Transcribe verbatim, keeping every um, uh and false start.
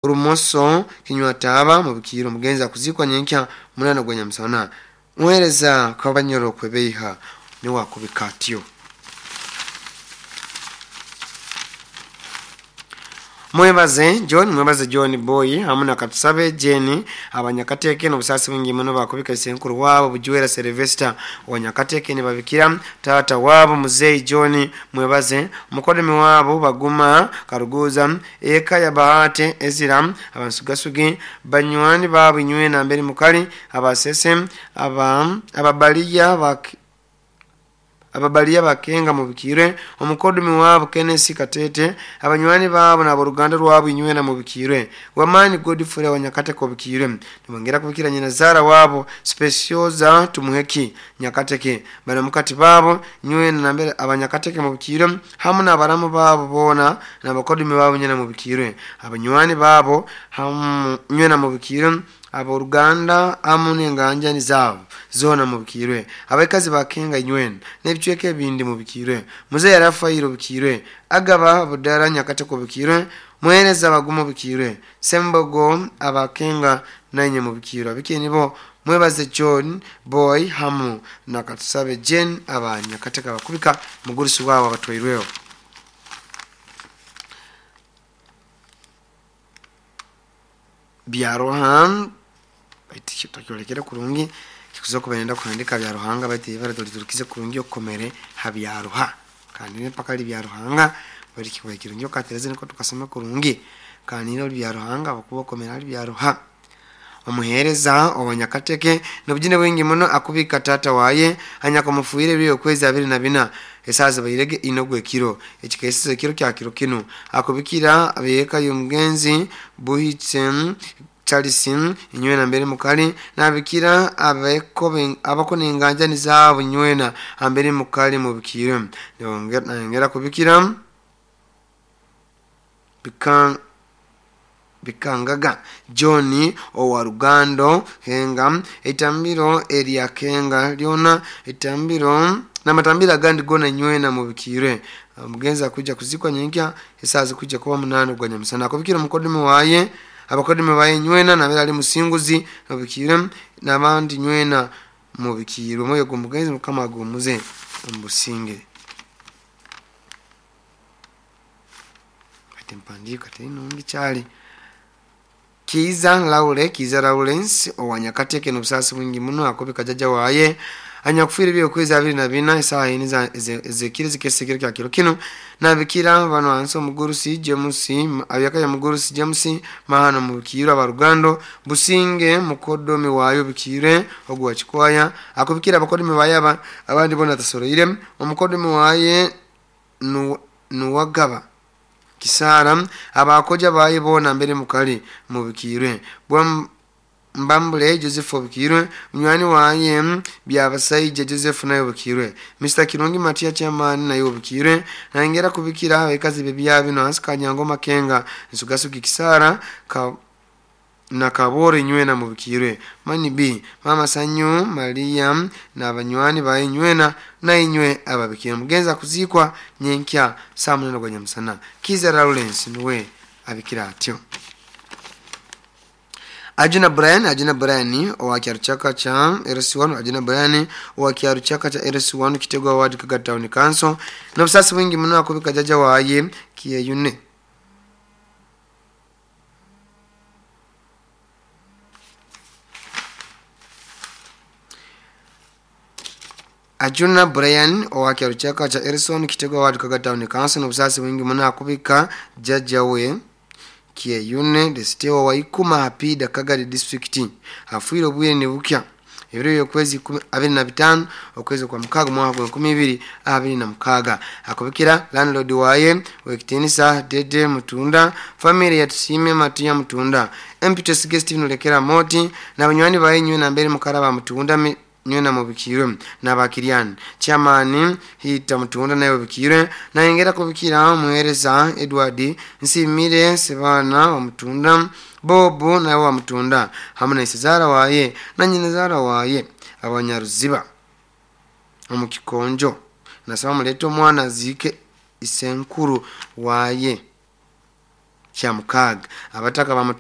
Orumoso kinywataba mubikiro omugenzi akuzikwa nyenkya munana gwa nyamusana muhereza kabanyoro kwebeiha niwe akubika atyo. Mwebaze John, mwebaze John Boy hamu na Katusabe Jenny abanyakateke n'obusasi bwingi muno bakubika isenkuru wabo Bujwera Sylvester wanyakateke nibabikira tata wabo Muzei John mwebaze mukodemi wabo Baguma Karuguza eka ya Bahate Ezira abansugasugi banywani babo inywe na mbere mukali abasese aba ababaliya bak ababaliya bakenga mubikire omukodumi wabo Kenneth Katete abanywani babo na boruganda rwabo inywe na mubikire wamani Godfrey wanyakateke obikire nibongera kubikira nyina zara wabo Specioza Tumuheki Nyakateke bana mukati babo nywe na mbere abanyakateke mubikire hamu na baramu babo bona na bakodumi babo nyina mubikire abanywani babo hamu nywe na mubikire aboruganda amu n'enganjani zabo zona mubikirwe abakazi bakenga inywena n'ebicweka ebindi mubikirwe muzeyi Rafairo bikirwe agaba budara Nyakateko bikirwe muhereza bagumo bikirwe sembogo abakenga nanye mubikirwe abikeni bo mwebaze John Boy hamu na Katusabe Jane abanyakateka bakubika mugurusi wabo abatwairweho. Byarohan baitu takyolekera kurungi kikuza kuba kuhandika Byaruhanga baitu ibara tuliturukize kurungi okomere ha Byaruha kandi mpaka ali Byaruhanga bali kiba kirungi okatereze niko tukasoma kurungi kandi no Byaruhanga bakuba komera ali Byaruha. Omuhereza obanyakateke nobujine bwingi muno akubika tata waye anyakamufuire byo kwezi abiri na bina esaza bayirege inogwe kiro ekikesize kiro kya kiro kino akubikira abeka y'omugenzi Buhitsen Charlesin inywena mbere mukali nabikira abeko abako nenganjani zabo nywena ambere mukali mubikire nongera nongera kubikira bikan bikangaga John owarugando henga etambiro eria kenga lyona etambiro namatambira gandi gona nywena mubikire mugenzi akuja kuzikwa nyenkya esaza kuja kuba munano gwa nyamusana akubikira mukodumi waye abakodumi baye nywena nabera ali musinguzi mubikire nabandi nywena mubikire moyo gumugenzi mukama gumuze mbusinge ati mpandika teno ngichali Kiza Laure Kiza Lawrence owanyakateke n'obusasi bwingi muno akobika jaja waye anyakufira byo kwezi abiri na bina isaha ine za ezekiri zikesekere kya kiro kino nabikira bano anso omugurusi James abyaka ya mugurusi James mahano mubikira abarugando businge mukodomi wayo bikire ogwa chikwaya akobikira abakodomi bayaba abandi bona tasoroire omukodomi waye nuwagaba Kisara abakoja baye bona mbere mukali mubikirwe bwa Mbambule Joseph obikirwe munywani waye Byabasaije Joseph nayo obikirwe Mister Kirungi Matia chairman nayo obikirwe nangera kubikira abakazi bebya bino ansikanyango makenga nsugasuki Kisara ka na kabore nywena mubikirwe mani b mama Sanyu Maria na banywani baye nywena na inywe ababikira mugenza kuzikwa nyenkya saa munana gwa nyamusana Kiza Lawrence niwe abikira atyo. Ajuna Brian Ajuna Brian owa kyaruchaka cha R C one Ajuna Brian owa kyaruchaka cha R C one Kitegwa Ward Kaga Town Council n'obusasi bwingi muno akubika jaja waye Kiyeyune Ajuna Brian owa kyaruchaka cha Erison Kitegwa Ward Kaga Town Council n'obusasi bwingi muno akubika jaja we Kiyeyune desitewa wa Ikuma Hapida Kagadi District afuire obwire ne bukya ebiro yokwezi abiri na bitano okwezi kwa mukaga mwaka wa nkumi ibiri abiri na mukaga akubikira landlord waye wekitinisa Dede Mutunda family ya Tusime Matia Mutunda Empetus Guest nulekera moti na banywani baye nywe na mbere mukaraba Mutunda nywe na mubikirwe na bakirian chairman hita Mutunda nayo bikirwe na ingera kubikira muhereza Edward Nsimire Sebana wa Mutunda Bobo nayo wa Mutunda hamwe na Isezara waye na nyinazara waye abanyaruziba omukikonjo nasaba muleto mwana zike isenkuru waye Kyamukaaga. Abataka.